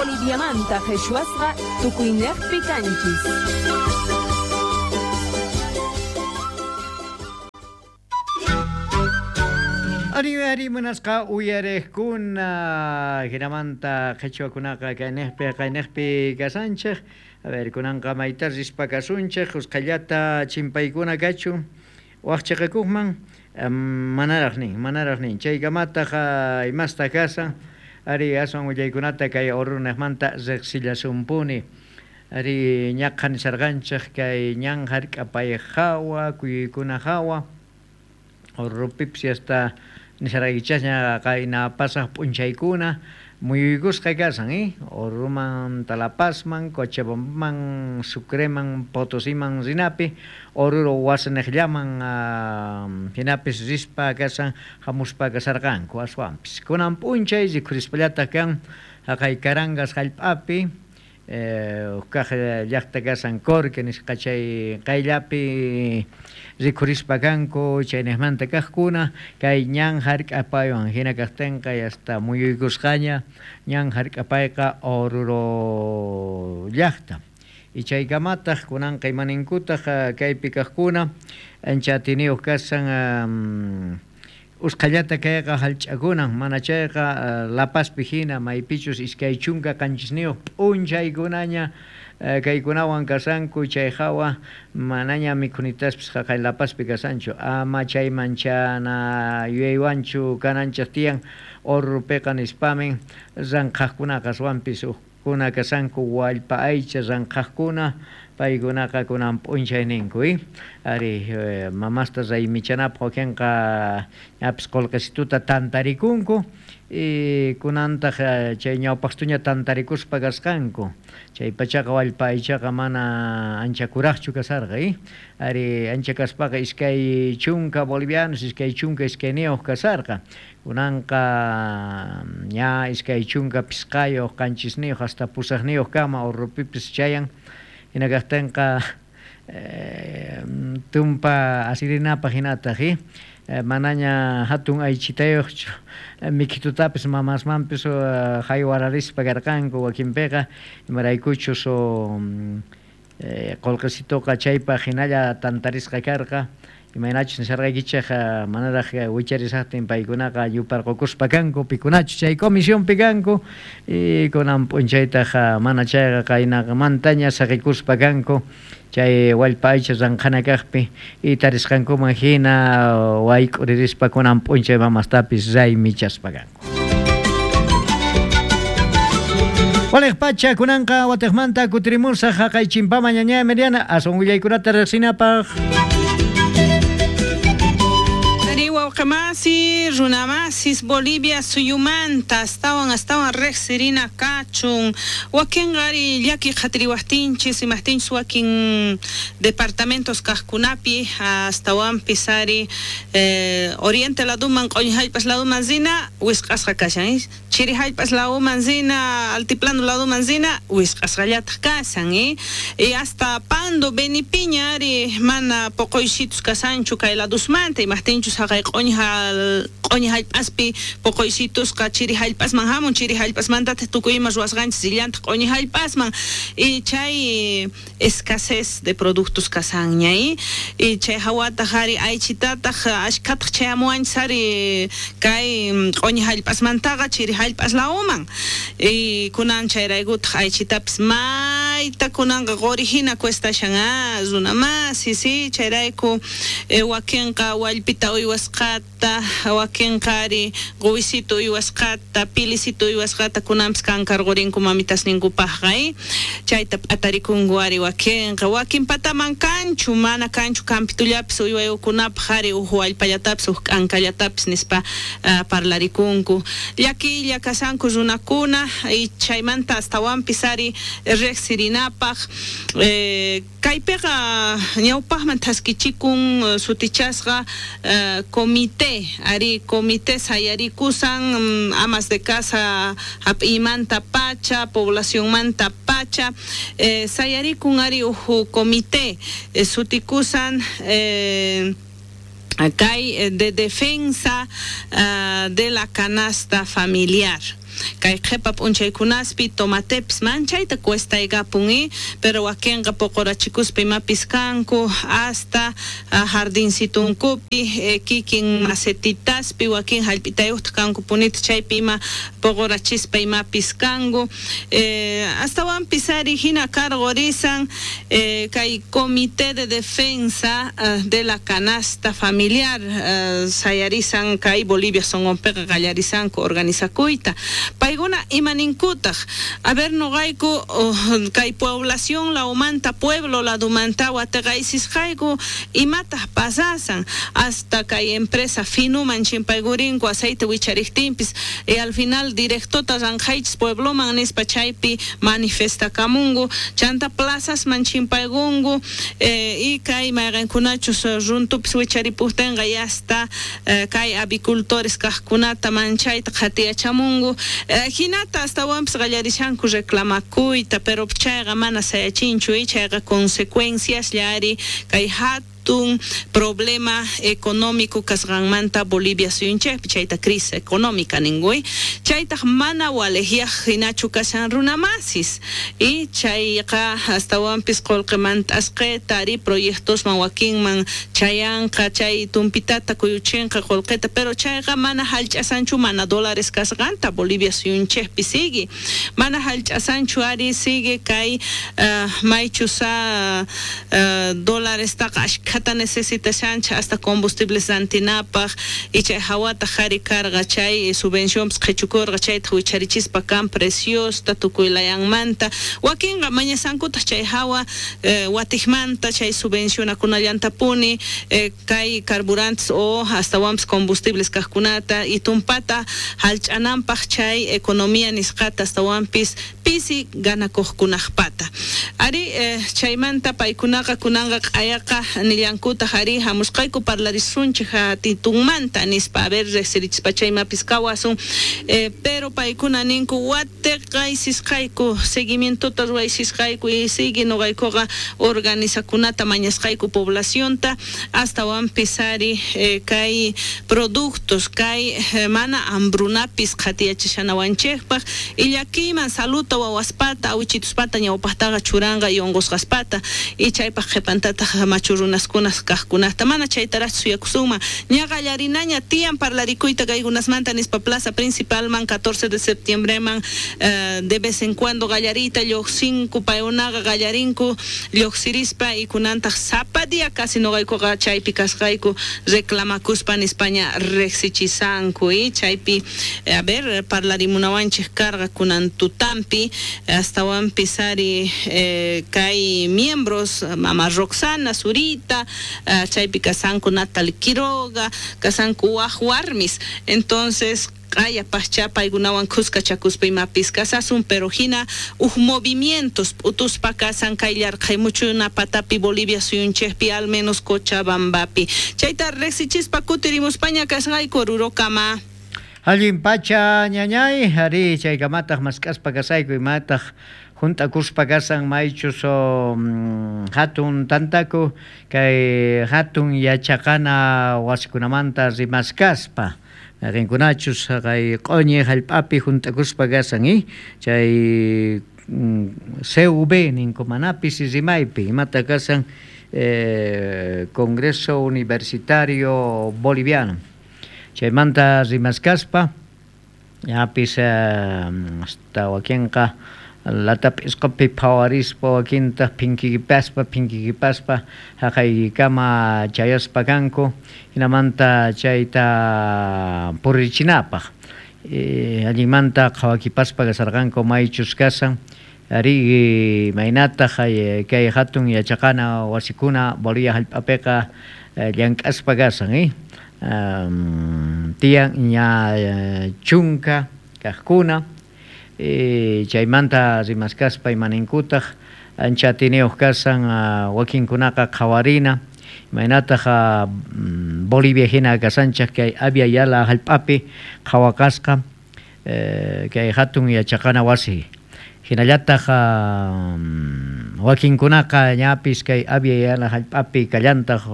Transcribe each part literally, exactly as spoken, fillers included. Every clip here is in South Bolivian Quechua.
Boliviamanta qhichwasqa tukuynejpi kanchis. Ari ari munasqa uyariqkuna hinamanta qhichwakunaqa kaynejpi kaynejpi kasanchej. A ver, kunanqa mayta rispa kasunchej usqhayllata chimpaykuna kachun waqchiqakuqman manaraq nin manaraq nin chaykamataq imasta kasan ari aswan willaykunata kay Oruro-niqmanta riqsillasunpuni ari ñaqa nisarqanchej kay ñan hark'apay hawa kuyuykuna hawa Orurupipis hasta nisarqaykichasña qayna pasaq p'unchaykuna muyuykusqa kasan eh Oruruman La Pazman, Cochabambaman, Sucreman, Potosiman rinapi Oruro wasiniqllaman hinapis rispa kasan hamuspa kasarqanku aswanpis kunan p'unchay rikhurispallataq kan haqay Carangas hallp'api huk kaq llaqta kasan Corque nisqa chay qayllapi rikhurispa kanku chaynejmanta kaqkuna kay ñan hark'apaywan hina kaqtinqa hasta muyuykusqaña ñan hark'apayqa Oruro llaqta y chaykamataq kunanqa imaninkutaq kaypi kaqkuna ancha atiniyuq kasan usqhayllata kayqa hallch'akunan mana chayqa La Pazpi hina maypichus iskay chunka qanchisniyuq p'unchaykunaña kaykunawan kasanku chay hawa manaña mikhunitaspis haqay La Pazpi kasanchu ama chayman chana yuyaywanchu kananchej tiyan Orurupiqa nispamin ranqhaqkunaqa aswanpis hukkuna kasanku wallpa aycha ranqhaqkuna paykunaqa kunan p'unchayninku eh ari mamasta raymichanapaq wakinqa ñapis qullqisituta tantarikunku y kunantaq chay ñawpaqtuña tantarikuspa kasqanku chay pachaqa wallpa aychaqa mana ancha kuraqchu kasarqa eh ari ancha kaspaqa iskay chunka bolivianos iskay chunka iskayniyuq kasarqa kunanqa ña iskay chunka pisqayuq qanchisniyuq hasta pusaqniyuq kama Orurupipis chayan hina kaqtinqa tumpa asirinapaq hinataq eh manaña hatun aychitayuqchu mikhitutapis mamasmanpis haywararispa karqanku wakinpiqa imaraykuchus qullqisituqa chaypaq hinalla tantarisqa karqa imaynachus nisarqaykichej manaraq wicharisaqtin paykunaqa yuparqukuspa kanku pikunachus chay comisionpi kanku y kunan p'unchaytaq mana chayqa qaynamantaña saqikuspa kanku chay wallpa aycha ranqhana kaqpi y tarisqankuman hina wayk'uririspa kunan p'unchay mamastapis raymichaspa kanku. Waliq pacha kunanqa watiqmanta kutirimusaq haqay chimpama ñaña Emiliana aswan willaykunata riqsinapaq. Wawqimasi, runamasis, Bolivia suyumanta astawan astawan riqsirina kachun wakinqa ari llaki qhatiriwaqtinchis imaqtinchis wakin departamentos kaqkunapi astawanpis ari eh, oriente laduman q'uñi hallp'as laduman rina wisq'asqa kashan eh? Chiri hallp'as laduman rina altiplano laduman rina wisq'asqallataq kashan eh? Y hasta Pando, Benipiña ari mana poqoysitus kasanchu kay ladusmanta imaqtinchus haqay q'uñi q'uñi hallp'aspi poqoysitusqa chiri hallp'asman hamun chiri hallp'asmantataq tukuy ima ruwasqanchis rillantaq q'uñi hallp'asman y chay escasez de productos kasanña eh? Y chay hawataq ari aychitataq ashkhataq chayamuwanchis ari kay q'uñi hallp'asmantaqa chiri hallp'as lawman y kunan chayraykutaq aychitapis mayta kunanqa quri hina cuestashan ah runamasi si chayrayku eh, wakinqa wallpita uywasqata wakinqa ari quwisito uywasqata pilisito uywasqata kunanpis kankarqurinku mamitasninkupaqqa eh? Chayta p'atarikunku ari wakinqa wakin pataman kanchu mana kanchu kampitullapis uywayukunapaq ari uj wallpallatapis uj k'ankallatapis nispa uh, parlarikunku llakilla kasanku runakuna y chaymanta astawanpis ari riqsirinapaq eh, kaypiqa ñawpaqman thaskichikun sutichasqa uh, comité ari comité sayarikusan um, amas de casa hap'iymanta pacha poblacionmanta pacha eh, sayarikun ari uj comité eh, sutikusan eh, kay de defensa uh, de la canasta familiar. Kay qhepa p'unchaykunaspi tomatepis manchayta cuestaykapun y pero wakinqa poqorachikuspa imapis kanku hasta jardincitunkupi eh, kikin macetitaspi wakin hallp'itayuqta kanku punita chaypi ima poqorachispa imapis kanku eh, astawanpis ari hina cargorisan eh, kay Comité de Defensa uh, de la Canasta Familiar uh, sayarisan kay Bolivia sonqonpiqa qallarisanku organizakuyta paykuna imaninkutaq a ver noqayku oh, kay población lawmanta pueblo ladumanta wateqaysisqayku imataq pasasan hasta kay empresa finuman chimpaykurinku aceite wichariqtinpis y al final directota ranqaychis puebloman nispa chaypi manifestakamunku chanta plazasman chimpaykunku eh, y kay mayqankunachus runtupis wicharipuktinqa ya hasta eh, kay avicultores kaqkunata manchayta qhatiyachamunku eh, hinata astawanpis qallarishanku reclamakuyta pero chayqa mana sayachinchu y chayqa consecuencias llari kay hatun problema económico kasqanmanta Bolivia suyunchikpi chayta crisis económica ninkuy chaytaq mana walejyaq hinachu kashan runamasis y chayqa astawanpis qullqimanta asqita ari proyectosman wakinman chayanqa chay tumpitata kuyuchinqa qullqita pero chayqa mana hallch'asanchu mana dólares kasqanta Bolivia suyunchikpi sigue mana hallch'asanchu ari sigue kay uh, maychusa uh, dólarestaqa ashkhata necesitashancha hasta combustibles rantinapaq y chay hawata qhari karqa chay subvencionpis qhichukurqa chayta wicharichispa kan preciosta tukuylayanmanta wakinqa mañasankutaq chay hawa eh, watiqmanta chay subvencionakunallantapuni eh, kay carburantes o astawanpis combustibles kaqkunata y tumpata hallch'ananpaq chay economía nisqata astawanpis pisi ganakuqkunaqpata ari eh, chaymanta paykunaqa kunanqa q'ayaqa nillankutaq ari hamusqayku parlarisunchik hatitunmanta nispa a ver riqsirichispa chaymapis kawasun eh, pero paykuna ninku wateqaysisqayku seguimientota ruwaysisqayku y sigue noqaykuqa organizakunata mañasqayku poblacionta astawanpis ari eh, kay productos kay eh, mana hambrunapis qhatiyachishanawanchikpaq y llakiyman saluta wawaspata awichituspata ñawpaqtaqa churanqa y unqusqaspata y chaypaq qhipantataq machu runaskunas kaqkunata mana chaytaraq suyakusunman ña qallarinaña tiyan parlarikuyta kaykunasmanta nispa plaza principalman catorce de septiembreman eh, de vez en cuando qallariyta lluqsinku paykunaqa qallarinku lluqsirispa y kunantaq sapa día casi noqaykuqa chaypi kasqayku reclamakuspa nispaña riqsichisanku y chaypi eh, a ver parlarimunawanchik karqa kunan tutampi astawanpis ari eh, kay miembros mama Roxana Zurita uh, chaypi kasanku Natalie Quiroga kasanku waj warmis entonces q'aya paqcha paykunawan khuskachakuspa imapis kasasun pero hina uj movimientos p'utuspa kasan kay llarqaymuchuna patapi Bolivia suyunchikpi al menos Cochabambapi chayta riqsichispa kutirimuspaña kasqayku Orurokama. Allin pacha ñañay ari chaykamataq mask'aspa kasayku imataq junt'akuspa kasan maychus hatun tantaku kay hatun yachaqana wasikunamanta rimaskaspa mayqinkunachus kay q'uñi hallp'api junt'akuspa kasan y chay C V ninku manapis rimaypi imata kasan eh, Congreso Universitario Boliviano chaymanta rimaskaspa yapis eh, hasta wakinqa latap'isqapi phawarispa wakintaq phinkikipaspa phinkikipaspa haqaykama chayaspa kanku hinamanta chayta purichinapaq eh, allinmanta qhawakipaspa kasarqanku maychus kasan ari maynataq kay hatun yachaqana wasikuna Bolivia hallp'apiqa llank'aspa kasan eh? Um, tiyan ña chunka kaqkuna eh, chaymanta rimaskaspa imaninkutaq ancha atiniyuq kasan uh, wakinkunaqa qhawarina imaynataq uh, Bolivia hina kasanchaq kay Abya Yala hallp'api qhawakasqa eh, kay hatun yachaqana wasi Hinallataq wakinkunaqa ñapis kay Avia Yala hallp'api kallantaq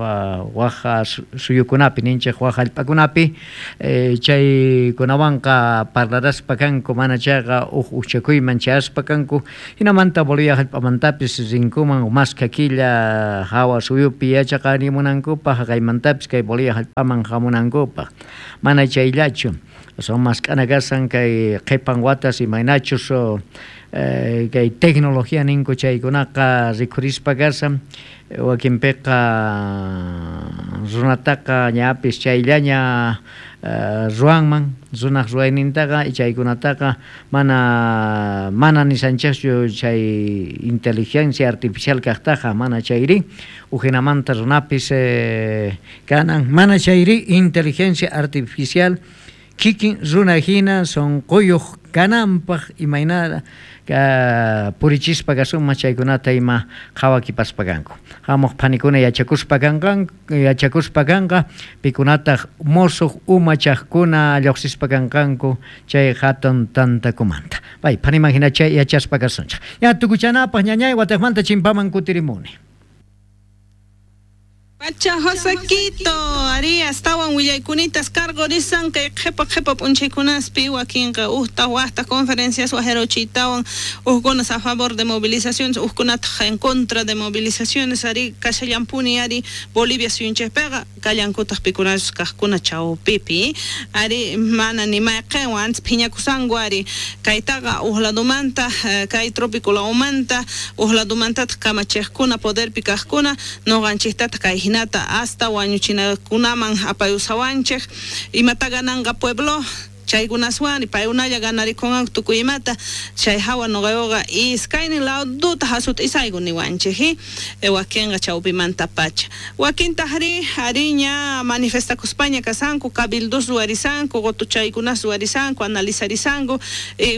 waj suyukunapi ninchik waj hallp'akunapi chaykunawanqa parlaraspa kanku mana chayqa uj uchakuyman chayaspa kanku hinamanta Bolivia hallp'amantapis rinkuman maskha killa hawa suyupi yachaqarimunankupaq haqaymantapis kay Bolivia hallp'aman hamunankupaq mana chayllachu son mask'ana kasan kay qhipan watas imaynachus eh, kay tecnología ninku chaykunaqa rikhurispa kasan wakinpiqa runataqa ñapis chayllaña uh, ruwanman runaq ruwaynintaqa chaykunataqa mana mana nisanchikchu chay inteligencia artificial kaqtaqa mana chayri ujinamanta runapis eh, kanan mana chayri inteligencia artificial kikin runa hina sonquyuq kananpaq imayna ka purichispa kasuma chaykunata ima qhawakipaspa kanku hamuq phanikuna yachakuspa kanqan yachakuspa kanqa pikunataq musuq umachaqkuna lluqsispa kanqanku chay hatun tantakumanta pay phaniman hina chay yachaspa kasunchik ya tukuchanapaq ñañay wataqmanta chimpaman kutirimuni. Pacha Josequito, Arias, tawan willaykunitas cargorisan kay qhipa qhipa p'unchaykunaspi wakinqa uhta waqta conferencias wajerochitawan uhkunas a favor de movilizaciones uhkunataq en contra de movilizaciones ari kashallampuni ari Bolivia suyunchikpiqa kallankutaq pikunachus kaqkuna chawpipi ari mana ni mayqinwan antes phiñakusanku ari kaytaqa uj ladumanta kay trópico lawmanta uj ladumantataq kamachiqkuna poderpi kaqkuna nuqanchiktataq kay hinata hasta wañuchinakunaman apayusawanchik imata gananqa pueblo chaykunaswan paykunalla ganarikunqanku tukuy imata chay hawa nuqayuqa iskaynin laduta hasut'isayku niwanchik wakinqa chawpimanta pacha wakintaqri ariña manifestakuspaña kasanku cabildos ruwarisanku qutuchaykunas ruwarisanku analizarisanku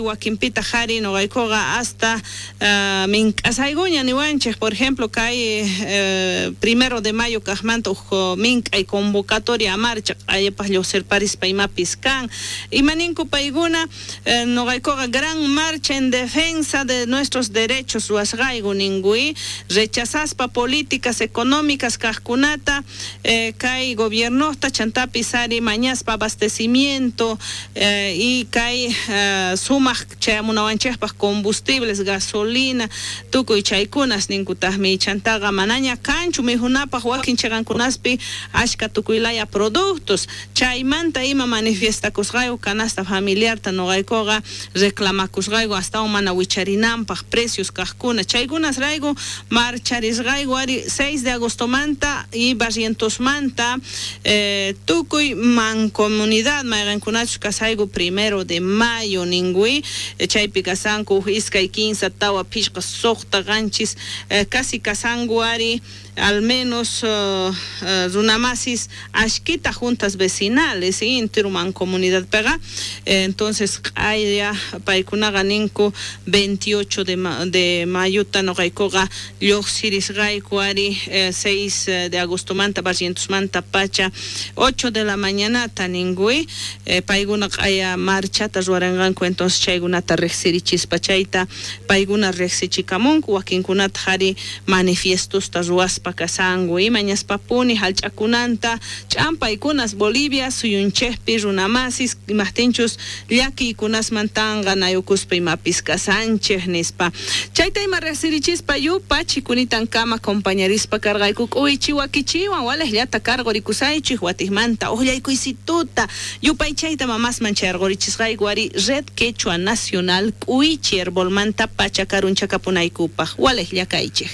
wakinpitaq ari nuqaykuqa hasta uh, mink'asaykuña niwanchik por ejemplo kay eh, primero de mayo kaqmanta uj mink'ay convocatoria a marcha q'ayapaq lluqsirparispa imapis kan imaninku paykuna eh, nuqaykuqa gran marcha en defensa de nuestros derechos ruwasqayku ninkui rechazaspa políticas económicas kaqkunata eh, kay gobiernosta chantapis ari mañaspa abastecimiento eh, y kay eh, sumaq chayamunawanchikpaq combustibles gasolina tukuy chaykunas ninkutaqmi chantaqa manaña kanchu mijunapaq wakin chiqankunaspi ashka tukuylaya productos chaymanta ima manifiestakusqayku canasta familiarta nuqaykuqa reclamakusqayku hasta mana wicharinanpaq precios kaqkuna chaykunasrayku marcharisqayku ari seis de agostomanta y Barrientosmanta eh, tukuy mancomunidad mayqinkunachus kasayku primero de mayo ninkui chaypi kasanku iskay kinsa tawa phishqa suqta qanchis eh, casi kasanku ari al menos uh, uh, runamasis ashkita juntas vecinales y entero mancomunidad pega entonces q'aya paykunaqa ninku veintiocho de, ma de mayuta nuqaykuqa lluqsirisqayku ari eh, seis de agostomanta Barrientosmanta pacha ocho de la mañanata ninkui eh, paykuna q'aya marchata ruwaranqanku entonces chaykunata riqsirichispa chayta paykuna riqsichikamunku wakinkunataq ari manifiestosta ruwaspa kasanku imañaspapuni hallch'akunanta ch'ampaykunas Bolivia suyunchikpi runamasis imaqtinchus llakiykunasmantanqa nayukuspa imapis kasanchik nispa chayta ima riqsirichispa yupa chikunitankama acompañarispa karqayku k'uychi wakichiwan walaqllata karqurikusaychik watiqmanta uqllaykuysituta yupaychayta mamasman chayarqurichisqayku ari Red Quechua Nacional k'uychi herbolmanta pacha karunchakapunaykupaq walaqlla kaychik.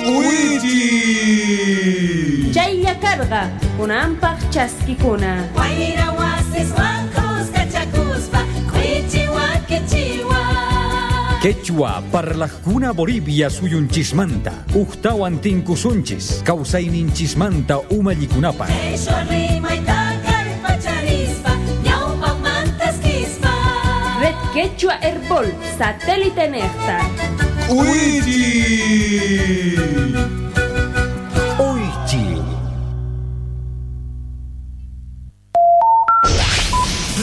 K'uychi. Chaylla karqa kunanpaq chaskikuna. Wayra wasiswan kuskachakuspa k'uychi wakichiwan. Quechua parlajkuna Bolivia suyunchismanta uqtawan tinkusunchis kawsayninchismanta umallikunapaq. Quechua rimayta kallpacharispa ñawpaqmantaskispa. Red Quechua Herbol satélite nejta. K'uychi. K'uychi.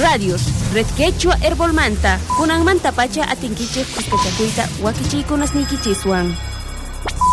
Radios, Red Quechua Herbolmanta, kunanmanta pacha atinkichej kuskachakuyta wakichiykunasniykichiswan.